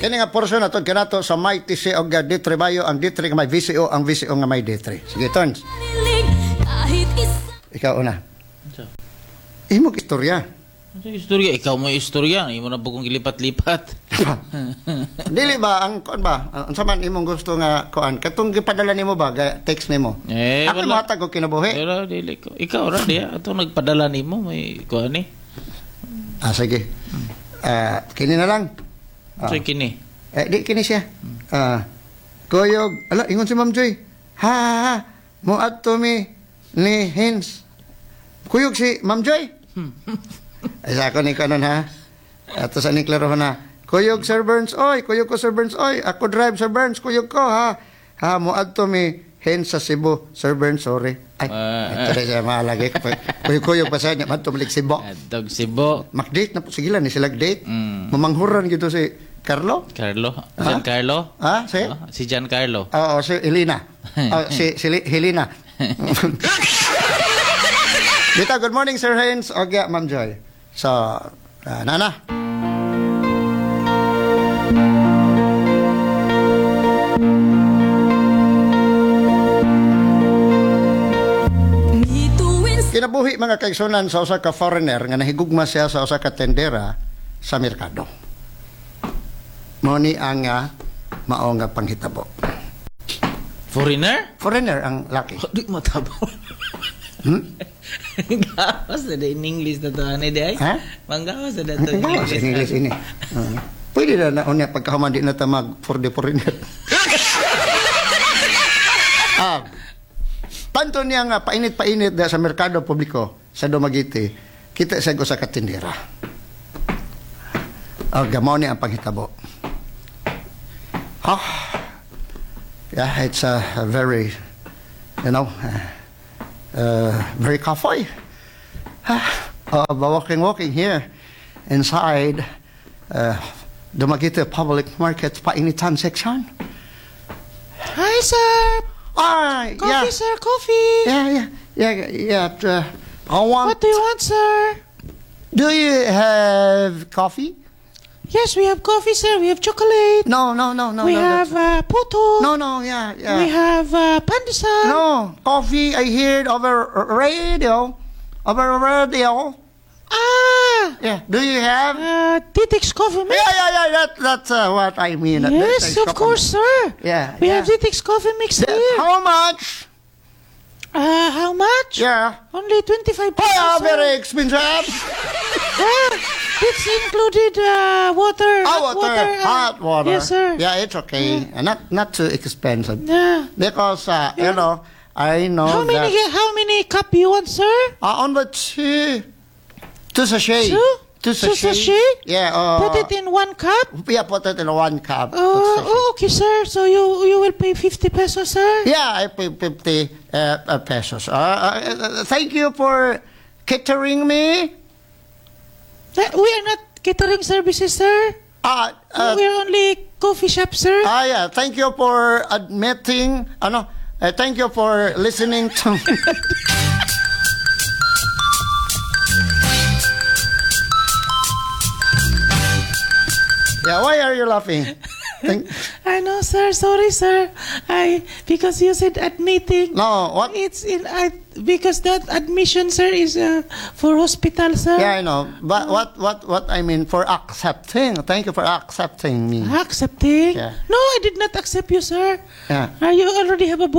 Kini nga porsyon na kanato sa may TC og D3 Bayo, ang D3 nga may VCO, ang VCO nga may D3. Sige, Tons. Kahit isa. Ikaw una. Imong istorya. Ano istorya? Ikaw mo istorya. Imo na bugong gilipat-lipat. Dili ba ang kuan ba? Unsa man imong gusto nga kuan? Katong gipadala nimo ba text nimo? Eh, Ako wala. mohatag og kinabuhi. Pero dili ko. Ikaw ra diya atong nagpadala nimo may kuan ni. Ah, sige. Ah, kini na lang. Ah. So kini. Eh, di kini siya. Ah, kuyog, ala, ingon si Ma'am Joy. Ha, ha, ha. Moadto mi ni Hins. Kuyog si Ma'am Joy. Ay, sa ako ni kanon ha. Ato sa ni klaro na. Kuyog Sir Burns, oy, kuyog ko Sir Burns, oy. Ako drive Sir Burns, kuyog ko ha. Ha, moadto mi Hins sa Cebu. Sir Burns, sorry. Ay, Ah. ito rin siya maalagay. Kuyog-kuyog pa sa niya, madto malik Cebu. Adtog Cebu. Makdate na po, sige lang, ni sila date. Mm. Mamanghuran gito si Carlo. Carlo. Giancarlo. Ha? Si? Oh, si Giancarlo. Oo, si Elena. Oh, si Helena. Dito, good morning, Sir Haynes. Okay, Ma'am Joy. So, Nana. Bituin. Kinabuhi mga kaigsunan sa usa ka foreigner nga nahigugma siya sa usa ka tendera sa merkado. Mao ni ang mao nga panghitabo. Foreigner? Foreigner ang laki. Oh, di matabo. Hmm? Gawas na in English na to ani di ay. Ha? Manggawas na to in English, English. English ini. Pwede na na unya pagkahuman di na ta mag for the foreigner. Ah, tanto niya nga painit-painit da sa merkado publiko sa Dumaguete, kita sa usa ka tindera. Ah, gamo ni ang panghitabo. Ah, yeah, it's a very, very kafoy. Ah, walking, walking here inside Dumaguete Public Market Painitan section. Hi sir. Ah, yeah. Sir, coffee. Yeah. I want. Do you want, sir? Do you have coffee? Yes, we have coffee, sir. We have chocolate. No. No, that's- Puto. No, yeah. Have pandesal. No, coffee. I heard over radio, over radio. Ah, Yeah. Do you have? Titix coffee mix. Yeah. That's what I mean. Yes, of course, sir. Yeah. We yeah. have Titix coffee mix here. How much? How much? Yeah. Only 25 pesos. Oh, Sir. very expensive. Ah, it's included water. Hot Hot water, water. Hot water. Yes, sir. Yeah, it's okay. Not too expensive. Yeah. Because I know How many that how many cup you want, sir? Only two sachet. Two? Two Two sachet. sachet? Yeah. Put it in one cup. Yeah, put it in one cup. Two sachet. Oh, okay, sir. So you will pay 50 pesos, sir? Yeah, I pay 50 pesos. Thank you for catering me. We are not catering services, sir. We are only coffee shop, sir. Ah, yeah. Thank you for admitting. Ano? Thank you for listening to. Yeah, why are you laughing? I know, sir. Sorry, sir. I because you said admitting. No, what? It's in I because that admission, sir, is for hospital, sir. Yeah, I know. But what I mean for accepting. Thank you for accepting me. Accepting? Yeah. No, I did not accept you, sir. Yeah. You already have a